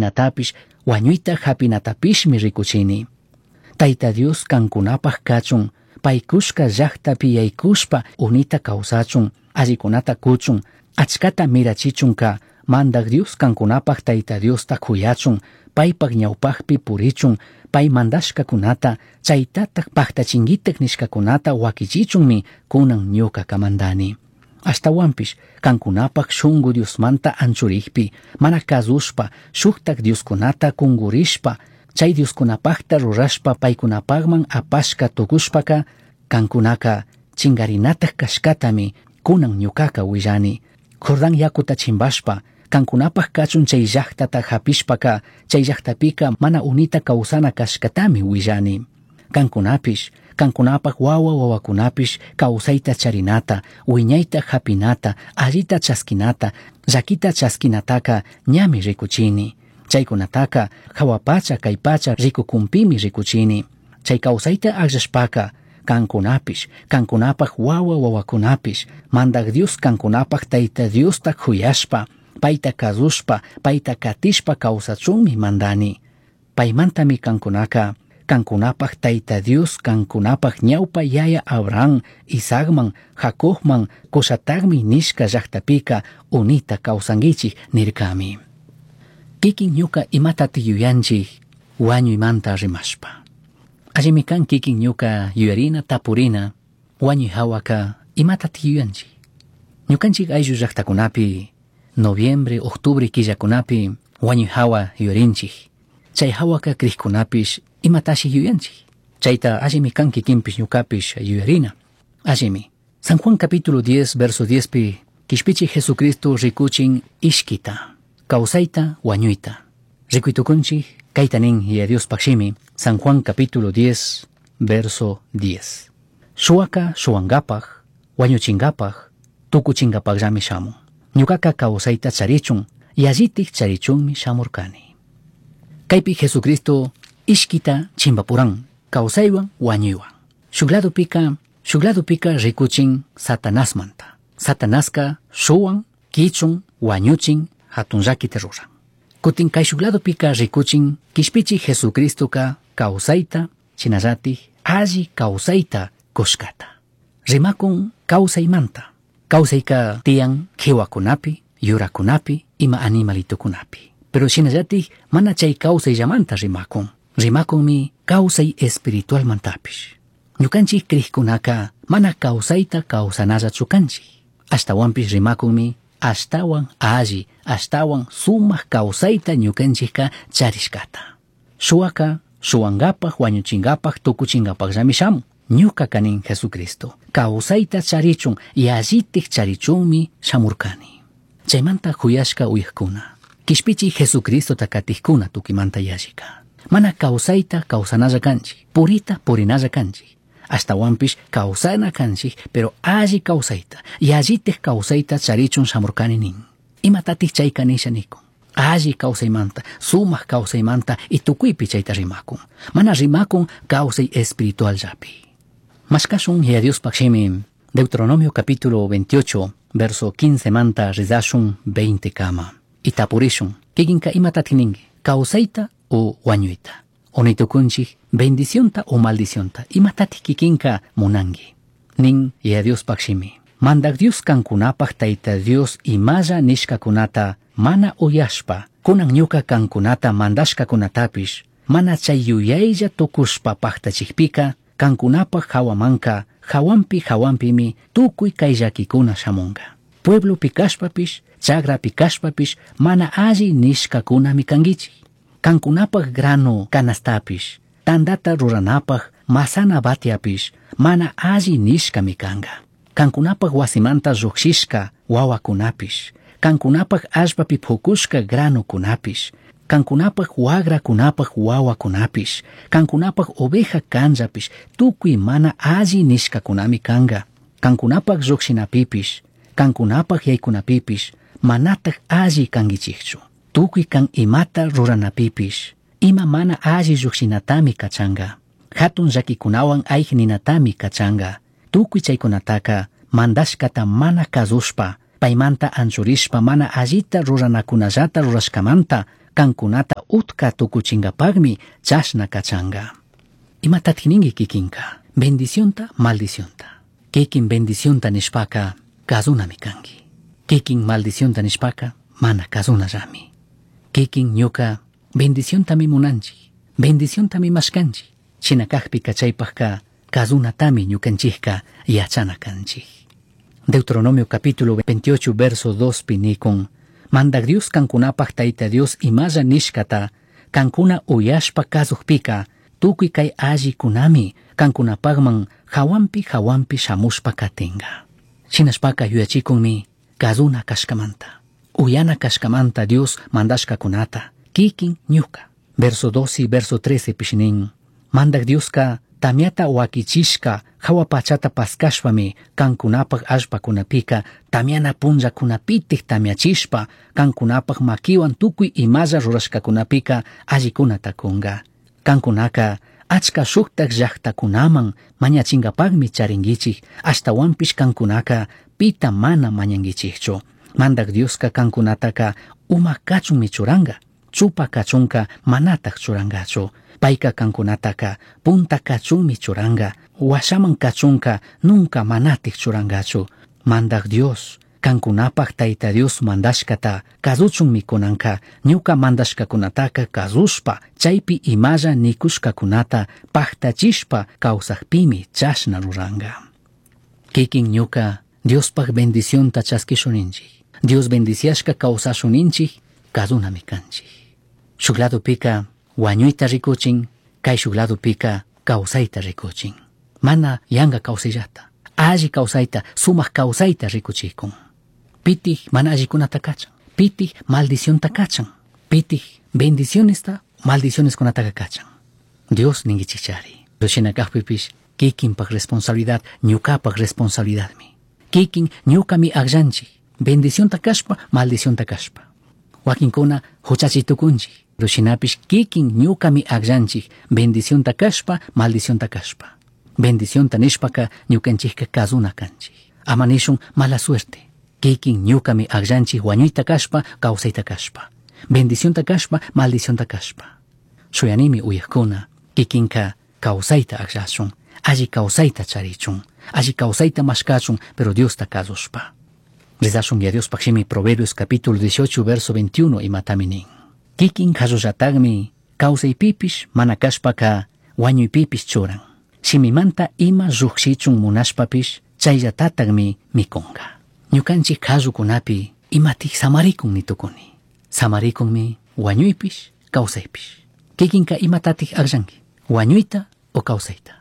Natapish huañuita japinatapishmi ricuchini. Taita Dios cancunapaj cachun, pai cushca llajtapi yaicushpa unita causachun, allicunata cuchun, achcata mirachichunca, Mandaj Dios cancunapaj Taita Diosta cuyachun, paipaj ñaupajpi purichun, pai mandashcacunata, chaitataj pajtachinguitaj nishcacunata huaquichichunmi cunan ñuca mandani. Ashtahuanpish cancunapaj shungu Diosmanta anchurijpi, mana cazushpa, shujtaj dioscunata cungurishpa, chai dioscunapajta rurashpa paicunapajman apashca tucushpaca, cancunaca chingarinataj cashcatami cunan ñucaca huillani. Jordán yacuta chimbashpa, cancunapaj cachun chai llajtata japishpaca, chai llajtapica mana unita causana cashcatami huillani. Cancunapish, cancunapaj wawa wawacunapish causaita charinata, huiñaita japinata, allita chasquinata, llaquita chasquinataca ñami ricuchini. Chaicunataca jahua pacha cai pacha ricucunpimi ricuchini. Chai causaita agllashpaca, cancunapish, cancunapaj wawa wawacunapish, Mandaj Dios cancunapaj Taita Diosta juyashpa, paita cazushpa, paita catishpa causachunmi mandani. Paimantami cancunaca, cancunapaj Taita Dios cancunapaj ñaupa yaya Abraham, Isaacman, Jacobman, cushatagmi nishca llajtapica unita causanguichij nircami. Kikin ñuka imatati yuyanchij huañuymanta rimashpa. Allimi kan kikin ñuka yuyarina tapurina huañuy hawaka imatati yuyanchij. Ñukanchik ayllu llajtakunapi noviembre, octubre killakunapi huañuy hawa yuyarinchik. Chay hawaka crijkunapish imatashi yuyanchik. Chayta allimi kan kikinpish ñukapish yuyarina. Allimi. San Juan capítulo 10 verso 10 pi Quishpichi Jesucristo rikuchin ishkita, kawsayta wañuyta. Rikuytukunchik kayta nin Yaya Diospaj shimi, San Juan capítulo 10 verso 10. Shuwaka shuwankapaj, wañuchinkapaj, tukuchinkapajllami shamun. Ñukaka kawsayta charichun, yallitik charichunmi shamurkani. Kaypi Jesucristo ishkita chimbapuran, kawsaywan wañuywan. Shuk ladopika, shuk ladopika rikuchin Satanasmanta. Satanaska shuwan, kichun, wañuchin, hatun llakita ruran. Kutin kay shuk ladopika rikuchin kishpichi Jesucristoka kawsayta, shinallatik alli kawsayta kushkata. Rimakun kawsaymanta. Kawsayka tiyan qiwakunapi, yurakunapi, ima animalitukunapi. Pero shinallatik mana chay kawsayllamanta rimakun. Rimakunmi kawsay espiritualmantapish. Ñukanchik crijkunaka mana kawsayta kawsanallachu kanchik. Ashtawanpish rimakunmi ashtawan alli, ashtawan sumak kawsayta ñukanchikka charishkata. Shuwaka shuwankapaj, wañuchinkapaj, tukuchinkapajllami shamun. Ñuka kanin Jesucristo. Kawsayta charichun, yallitik charichunmi shamurkani. Chaymanta juyashka uyajkuna. Kishpichi Jesucristota katijkuna tukimanta yallika. Mana kawsayta kawsanalla kanchik, purita purinalla kanchik. Ashtawanpish kawsana kanchik, pero alli kawsayta, yallitik kawsayta charichun shamurkani nin. Imatatik chayka nisha nikun. Alli kawsaymanta, sumak kawsaymanta y tukuypi chayta rimakun. Mana rimakun kawsay espiritual llapi. Mashkashun Yaya Diospaj shimi, Deuteronomio capítulo 28, verso 15 manta rizashun 20 kama. Y tapurishun, kikinka imatatik ninki, kawsayta o wañuyta. Onitukunchik bendicionta o maldicionta, imatatik kikinka munanki. Nin Yaya Diospaj shimi. Mandaj Dios kankunapaj Tayta Dios imalla nishkakunata mana uyashpa, kunan ñuka kankunata mandashkakunatapish, mana chay yuyaylla tukushpa paktachikpika, kankunapaj hawamanka, hawanpi hawanpimi tukuy kay llakikuna shamunka. Pueblopi kashpapish, chagrapi kashpapish, mana alli nishkakunami kankichik. Kankunapaj grano canastapish, tandata ruranapaj masana batiapish, mana alli nishkami kanka. Kankunapaj wasimanta llukshishka wawakunapish, kankunapaj allpapi pukushka granokunapish, kankunapaj wagrakunapaj wawakunapish, kankunapaj oveja kanllapish, tukuy mana alli nishkakunami kanka. Kankunapaj llukshinapipish, kankunapaj yaykunapipish, manataj alli kankichikchu. Tukuy kan imata ruranapipish, ima mana alli llukshinatami kachanka. Hatun llakikunawan ayj ninatami kachanka. Tukuy chaykunataka mandashkata mana kazushpa, paymanta anchurishpa mana allita ruranakunallata rurashkamanta. Cancunata utca tucuchingapajmi chashna cachanga. Imatatik ninki kikinka? Bendicionta, maldicionta. Kikin bendicionta nishpaka kazunami kanki. Kikin maldicionta nishpaka mana kazunallami. Kikin ñuka bendiciontami munanchik, bendiciontami mashkanchik. Shina kajpika chaypajka kazunatami ñukanchikka yachana kanchik. Deuteronomio capítulo 28 verso 2 pi nikun, Mandak Dios kankunapaj Tayta Dios imalla nishkata, kankuna uyashpa kazujpika, tukuy kay allikunami kankunapajman hawanpi hawanpi shamushpa katinga. Shinashpaka yuyachikunmi kazuna kashkamanta, uyana kashkamanta Dios mandashkakunata, kikin ñuka. Verso 12 verso 13 pish nin, Mandak Dioska tamiata wakichishka hawa pachata paskashpami kankunapaj allpakunapika tamiana punllakunapitik tamiachishpa kankunapaj makiwan tukuy imalla rurashkakunapika allikunata kunga. Kankunaka achka shuktak llaktakunaman mañachingapajmi charinkichik, ashtawanpish kankunaka pita mana mañankichikchu. Mandak Dioska kankunataka uma kachunmi churanga, chupa kachunka manatak churangachu. Payka kankunataka punta kachunmi churanga, washaman kachunka nunca manatik churangachu. Mandak Dios, kankunapaj Tayta Dios mandashkata kazuchunmi kunanka, ñuka mandashkakunataka kazushpa, chaypi imalla nikushkakunata paktachishpa kawsakpimi chashna ruranga. Kikin ñuka Diospaj bendicionta chaskishuninchik, Dios bendiciashka kawsashuninchik, kazunami kanchik. Shuk ladopika wañuyta rikuchin, kay shuk ladopika kawsayta rikuchin. Mana yanka kawsayllata, alli kawsayta, sumak kawsayta rikuchikun. Pitik mana allikunata kachan, pitik maldicionta kachan, pitik bendicionesta maldicioneskunataka kachan. Dios ninkichikchari. Shina kajpipish kikinpak responsabilidad, ñukapak responsabilidadmi. Kikin ñukami akllanchik, bendicionta kashpa, maldicionta kashpa. Wakinkuna huchachi tukunchik, pero shinapish kikin ñukami akllanchik, bendicionta kashpa, maldicionta kashpa. Bendicionta nishpaka ñukanchikka kazuna kanchik. Ama nishun mala suerte. Kikin ñukami akllanchik wañuyta kashpa, kawsayta kashpa. Bendicionta kashpa, maldicionta kashpa. Shuyanimi uyakuna, kikinka kawsayta akllashun, alli kawsayta charichun, alli kawsayta mashkachun, pero Diosta kasushpa. Rezashun ya Diospaj shimi Proverbios capítulo 18 verso 21 imatami nin. Kikin kallullatakmi kawsaypipish mana kashpaka wañuypipish churan. Shimimanta ima llukshichun munashpapish chayllatatakmi mikunka. Ñukanchik kallukunapi imatik samarikun nitukuni. Samarikunmi wañuypish kawsaypish. Kikinka imatatik akllanki, wañuyta o kawsayta.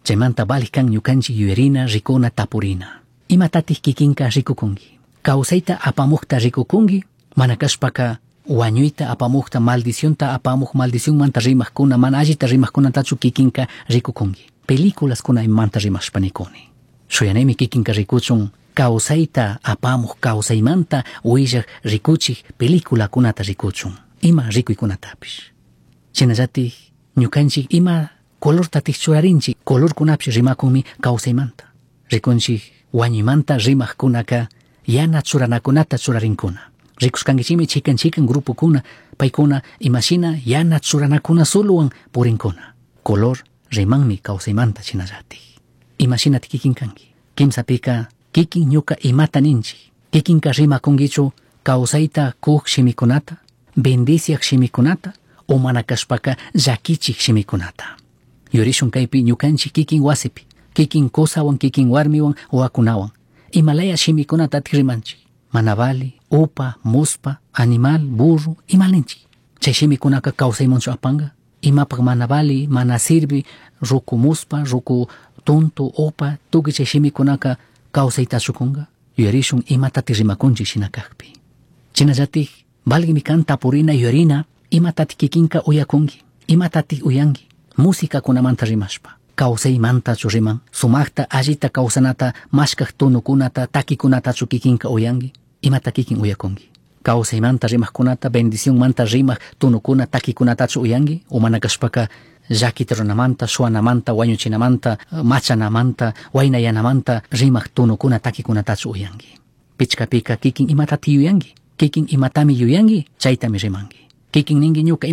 Chaymanta valik kan ñukanchik yuyarina, rikuna, tapurina. Imatatik kikinka rikukunki. Kawsayta apamukta rikukunki, mana kashpaka wañuyta apamukta, maldicionta apamuk, maldicionmanta rimajkuna, mana allita rimajkunatachu kikinka rikukunki. Películaskuna imamanta rimashpa nikuni. Shuyanimi kikinka rikuchun kawsayta apamuk, kawsaymanta willak rikuchik peliculakunata rikuchun, ima rikuykunatapish. Shinallatik ñukanchik ima colortatik churarinchik, colorkunapish rimakunmi kawsaymanta. Rikunchik wañuymanta rimajkunaka yana churanakunata churarinkuna. Rikushkankichikmi chikan chikan grupokuna, paykuna imashina yana churanakuna solowan purinkuna. Color rimanmi kawsaymanta shinallatik. Imashinatik kikin kanki. Kimsapika kikin ñuka imata ninchik. Kikinka rimakunkichu kawsayta kuk shimikunata, bendiciak shimikunata, o mana kashpaka llakichik shimikunata. Yurishun kaypi ñukanchik kikin wasipi, kikin kusawan, kikin warmiwan, wawakunawan. Imalaya shimikunatatik rimanchik. Mana vali, upa, muspa, animal, burro, imalinchik. Chay shimikunaka kawsaymanchu apanka. Imapak mana vali, mana sirvi, ruku muspa, ruku tonto, upa, tukuy chay shimikunaka kawsaytachu kunka. Yuyarishun imatatik rimakunchik shina kakpi. Shinallatik valgimi kan tapurina yuyarina imatatik kikinka uyakunki, imatatik uyanki, musikakunamanta rimashpa. Kawsaymantachu riman, sumakta allita kawsanata mashkak tunukunata, takikunatachu kikinka uyanki, imata kikin uyakunki. Kawsaymanta rimajkunata, bendicionmanta rimak tunukuna, takikunatachu uyanki, o mana kashpaka llakita runamanta, shuanamanta, wañuchinamanta, machanamanta, waynayanamanta rimak tunukuna, takikunatachu uyanki. Pichkapika kikin imatati yuyanki, kikin imatami yuyanki, chaytami rimanki. Kikin ninki ñuka.